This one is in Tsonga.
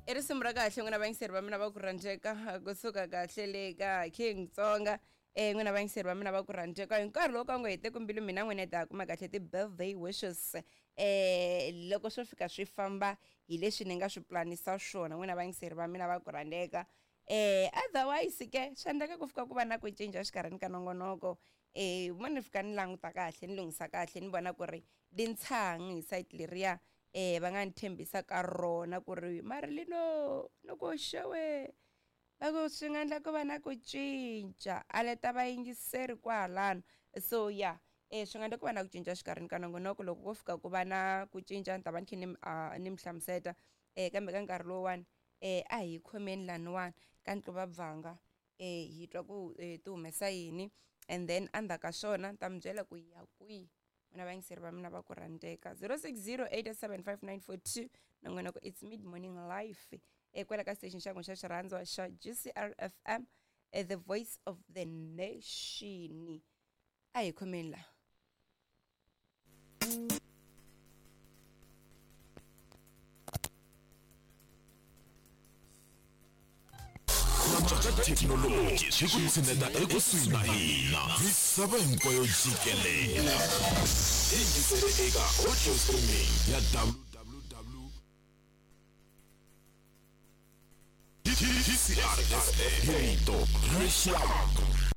I risimu ra kahle n'wina vayingiseri va mina va ku rhandzeka kusuka kahle le ka King Tsonga. N'wina vayingiseri va mina va ku rhandzeka hi nkarhi lowu ka ngo hete mbilu mina n'wina hi ta kuma kahle ti-birthday wishes. Loko swo fika swi famba hi leswi ni nga swi planisa swona n'wina vayingiseri va mina va ku rhandzeka. Otherwise ke swi endleka ku fika ku va na ku cinca exikarhini ka nongonoko. Mo ni fika ni languta kahle ni lunghisa kahle ni vona ku ri lintshang hi site leriya va nga ni tshembisa ka rona ku ri mari lino no ku xewe va ku swi nga endla ku va na ku cinca a leta vayingiseri kwalano. So ya swi nga endla ku va na ku cinca exikarhini ka nongonoko. Loko ko fika ku va na ku cinca ni ta va ni kha ni mi hlamuseta. Kambe ka nkarhi lowuwani a hi khomeni laniwani ka Ntluva-Bvanga, hi twa ku ti humesa yini, and then endzhaku ka swona ni ta mi byela ku hi ya kwihi. N'wina vayingiseri va mina va ku rhandzeka. 0608875942 nongonoko it's Mid Morning Life kwala ka station xa n'wina xa xirhandzwa xa GCR FM, the voice of the nation. A hi khomeni la. Thekinoloji swi ku tshineta ekusuhi na hina misava hinkwayo jikelela. Yingisele eka audio streaming ya www GCRFM, hi rito ra rixaka.